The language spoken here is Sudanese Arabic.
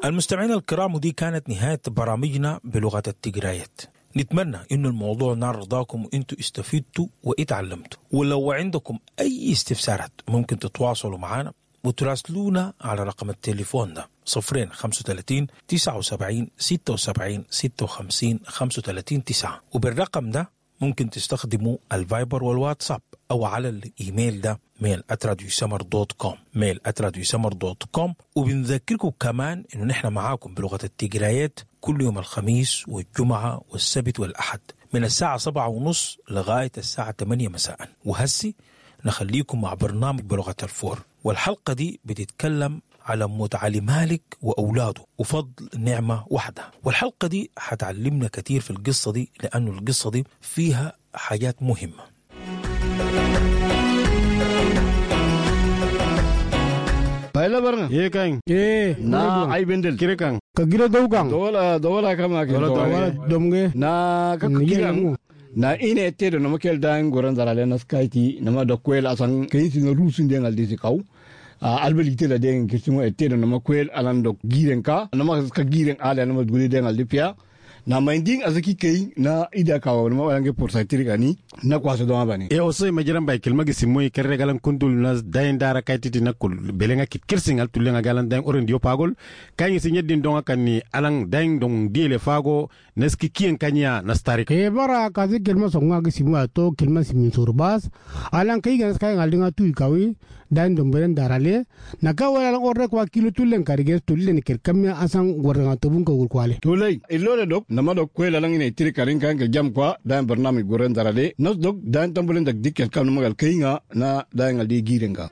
المستمعين الكرام، ودي كانت نهاية برامجنا بلغة التجرايات. نتمنى انه الموضوع نال رضاكم وانتوا استفدتوا واتعلمتوا. ولو عندكم اي استفسارات ممكن تتواصلوا معنا وتراسلونا على رقم التليفون ده: 0 35 79 76 56 35 9. وبالرقم ده ممكن تستخدموا الفايبر والواتساب، او على الايميل ده mail@radiosmr.com، mail@radiosmr.com. وبنذكركم كمان انه نحن معاكم بلغه التجرايات كل يوم الخميس والجمعه والسبت والاحد من الساعه 7:30 لغايه الساعه 8 مساء. وهسي نخليكم مع برنامج بلغه الفور، والحلقه دي بتتكلم على موت علي مالك وأولاده وفضل نعمة واحدة. والحلقة دي حتعلمنا كتير في القصة دي، لأنه القصة دي فيها حاجات مهمة. Bayla barna. Ye kan. Eh. Na ay bendel. Kire kan. Ka gira dawgan. Dawala dawala kama ke. Dawala Dawala domge. Na ka Ni kiran. mu. Na ine te do nama kel dan goran zarale na skaiti nama da kwel asan kayin sin rusun den aldi si kaw. Albel gite la den kirsingo ete do nama kwel alan do giren ka nama ka giren ala nama guli den aldi pia. Na minding azaki kai na ida kaw nama walange porsaitiri kani na kwaso do mabani. E oso majiran bay kilma gi simoy kerre galan kundul nas dayin dara kaititi nakul belenga kit kirsin al tulenga galan dayin orin dio pagol kanyi si nyeddin donga kanni alang dayin dong diele fago neski kiyen kanya nastari. Ke bara ka zi kelma songa gi simu ato kelma simin surbas. Alan kai gan kai ngalinga tu ikawi dan domberen darale. Na ka wala alan orre kwa kilo tulen karige tulen ker kamya asan goranga tobun ko kwale. Tulai illole dok nama dok kwela lang ine tiri karin kan ke jam kwa dan barnami goren darale nas dok dan tambulen dak dikkel kam magal kainga na dan aldi girenga.